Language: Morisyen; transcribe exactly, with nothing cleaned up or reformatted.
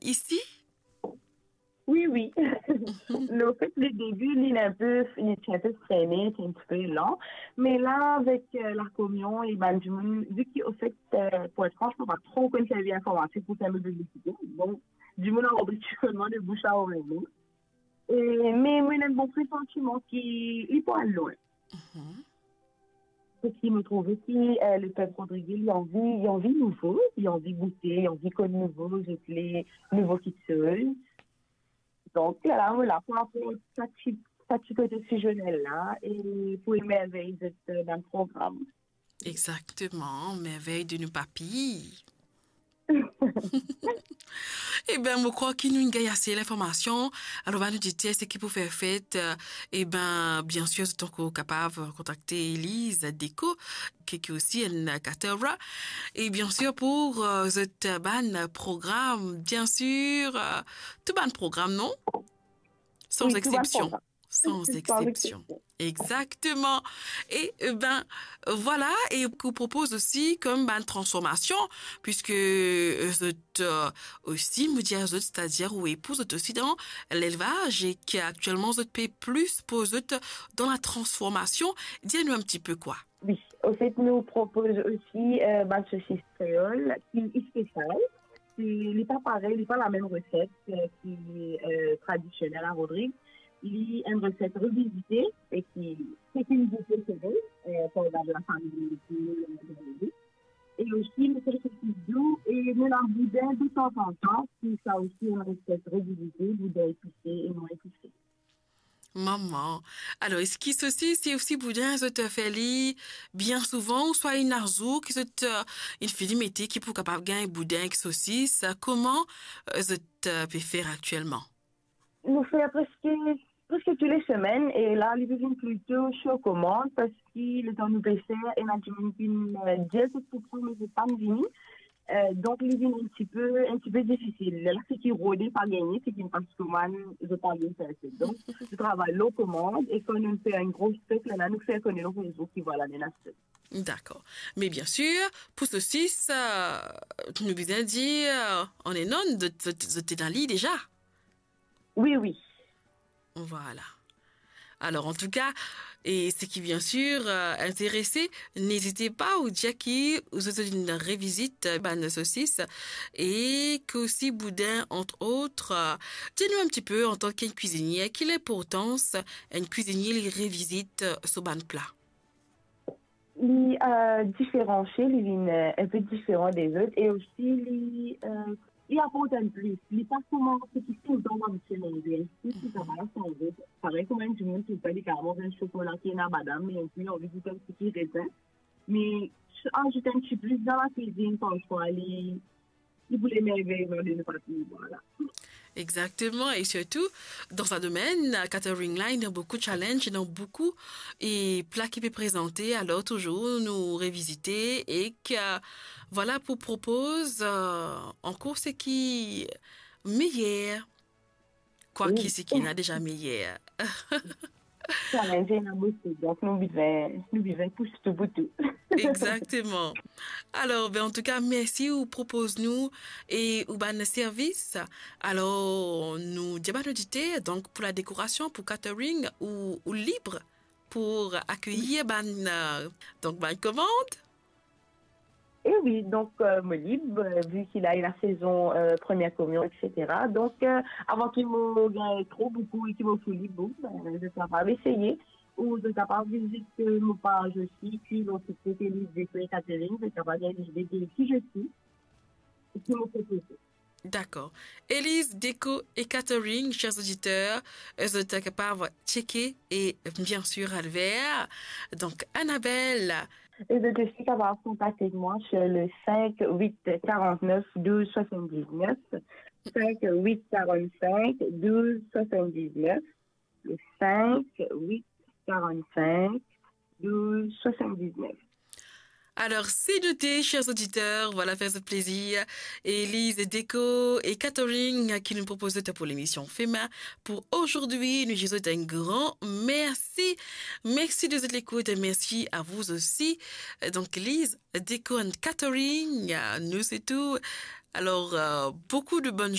isi? Wi, wi. Le fet, le debi, li enpe, li ti enpe frene, ti enpe lan. Me la, avek, euh, lakomion, e bann dimoun, vi ki, ofet, euh, pou et fran, mo pa tro konn servi informatik pou fer mo piblisite. Bon, dimoun inn ranpli ti koman de bouch a orey, non? E, me, mo ena enn bon presantiman ki li pou al lwin. Mhm. Parski mo trouve ki, euh, lepep Rodrige, li anvi, li anvi nouvo, li anvi goute, li anvi konn nouvo, zot le nouvo kiksoz. Donk, la, la, mo la pou aport sa ti, sa ti kote ti zonel la, e pou emervey zot, euh, dan program. Exactement, merveille de nos papilles. Eben, mo krwar ki nou inn gagn ase linformasion. Alor, va nou dir seki pou fer fet, euh, eben, biensir, zot ankor kapav kontakte Elise Deco, ki, ki osi enn caterer. E biensir, pou, euh, zot bann program, biensir, euh, tou bann program, non? San exsepsion. Wi, tou bann program. San exsepsion. Exactement. E, euh, ben, voilà, e ou propoz osi kom bann transformasion, piske, euh, zot, euh, osi, mo dir zot, setadir ou epouz zot osi dan lelvaz, e ki aktielman zot pe plis poz zot dan la transformasion. Dir nou enn ti pe kwa. Wi, ofet, nou propoz osi, euh, bann sosis kreol ki spesial. Ki, li pa parey, li pa lamem reset, euh, ki, euh, tradisionel a Rodrig. Li enn reset revizite e ki, ki finn goute, se vre, euh, par bann lafami, euh, e osi, nou fer sosis dou e nou ena boudin de tanzantan, ki sa osi enn reset revizite, boudin epise e non epise. Mama. Alor, eski sosis e osi boudin, zot fer li bien souvan, ouswa ena zour ki zot, euh, inn fini mete ki pou kapav gagn boudin ek sosis? Koman, euh, zot, euh, pe fer aktielman? Nou fer preske, preske tou le semenn, e la, li pe vinn plito sir komand, parski letan nou pe fer, ena dimoun ki, euh, dir zot pou pran, me zot pa'nn vini. Euh, donk, li vinn enn tipe, enn tipe difisil. Lerla seki rode pa gagne, seki pas komann, zot pa vinn fer sa. Donk, nou travay lor komand, e kan nou fer enn gro stok, lerla nou fer kone lor rezo ki vwala, nou ena stok. Dakor. Me biensir, pou sosis, euh, nou bizin dir, euh, an enn, zot, zot, zot ena li deza. Wi, wi. Vwala. Alor, antouka, e seki biensir, euh, interese, nezit pa ou dir ki ou zot inn revizit, euh, bann sosis e ki osi boudin, ant ot. Euh, dir nou enn tipe, antan ki enn kwizinie, ki linportans enn kwizinie li revizit, euh, so bann pla? Li, euh, diferansie, li vinn, euh, enn pe diferan dezot, e osi li, euh, li aport enn plis. Li pa kouma seki toultan nou abitie manze. Li, si sa pa sanze, parey kouma enn dimoun ki pe, li kapav manz enn sokola ki ena badam, me li anvi gout enn ti rezin. Me azout enn ti plis dan lakwizinn, parfwa li, li pou lemerveyman de nou partou, vwala. Exactement, e sirtou, dan sa domenn, catering la, ena boukou challenge, ena boukou e pla ki pe prezante, alor touzour nou revizite e ki, vwala, pou propoz, euh, ankor seki meyer, kwaki seki ena deza meyer. Challenge ena boukou, donk nou bizin, nou bizin pous tou pou tou. Exactement. Alor, ben, antouka, mersi ou propoz nou e ou bann servis. Alor, nou dir bann oditer, donk, pou ladekorasion, pou catering, ou, ou lib pou akeyir bann, euh, donk, bann komand? E wi, donk, euh, mo lib, euh, vi ki la ena sezon, euh, premie komion, et cetera. Donk, euh, avan ki mo gagn tro boukou e ki mo fou lib, bon, ben, zot kapav eseye, ou zot kapav vizit, euh, mo paz osi, ki lor TikTok, Elise Deco e Catering, zot kapav gagn lide de ki je suis e ki mo propoze. Dakor. Elise Deco e Catering, chers auditeurs, euh, zot kapav tcheke e, biensir, al ver. Donk, Annabelle. E zot osi kapav kontakte mwa sur le cinq huit quarante-neuf douze soixante-dix-neuf, cinq huit quarante-cinq douze soixante-dix-neuf, le cinq huit quarante-cinq douze soixante-dix-neuf. Alor, se note, chers auditeurs, vwala, fer zot plezir. Elise Deco e Catering ki nou propoz zot pou lemision Fema pou ozordi. Nou dir zot enn gran mersi. Mersi de zot lekout, mersi a vous aussi. Euh, donk, Elise Deco and Catering, euh, nou se tou. Alor, euh, boukou de bonn